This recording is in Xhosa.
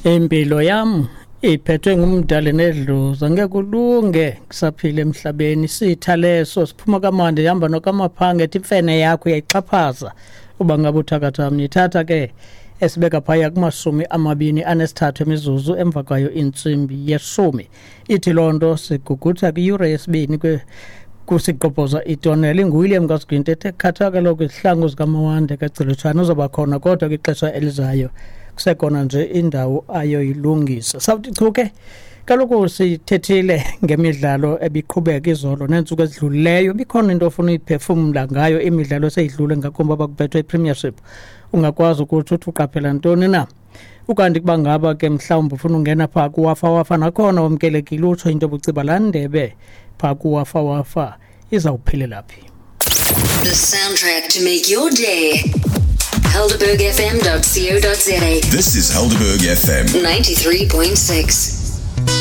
Impilo yam iphethwe ngumdali nedlozi, angeke kulunge kusaphila emhlabeni. Sitha leso siphuma kamandi, ihamba nokamaphange, ethi imfene yakho uyayixhaphaza uba ngabe uthakatha mni. Ithatha ke esibeka phaya kumashumi 23 emizuzu emva kwayo intsimbi yeshumi. Ithi loo nto sigugutha kwiyure yesibini kusigqobhoza itonela. InguWilliam kaSigwinti ethe khatha kaloku izihlangu zikaMawande kaGcilitshana, uzawuba khona kodwa kwixesha elizayo, kusekhona nje indawo ayoyilungisa. Sawuthi chu ke kaloku sithethile ngemidlalo ebiqhubeka izolo neentsuku ezidlulileyo. Ibikhona into ofuna uyiphefumla ngayo imidlalo eseyidlule, ngakumbi abakubethwe iPremiership? Ungakwazi ukuthi uthi uqaphela ntoni na? Ukanti kuba ngaba ke mhlawumbi ufuna ungena phaa kuwafa wafa, nakhona wamkelekile, utsho into obuciba laa ndebe phaa kuwafa wafa izawuphelela phi. The soundtrack to make your day. HelderbergFM.co.za. This is Helderberg FM 93.6.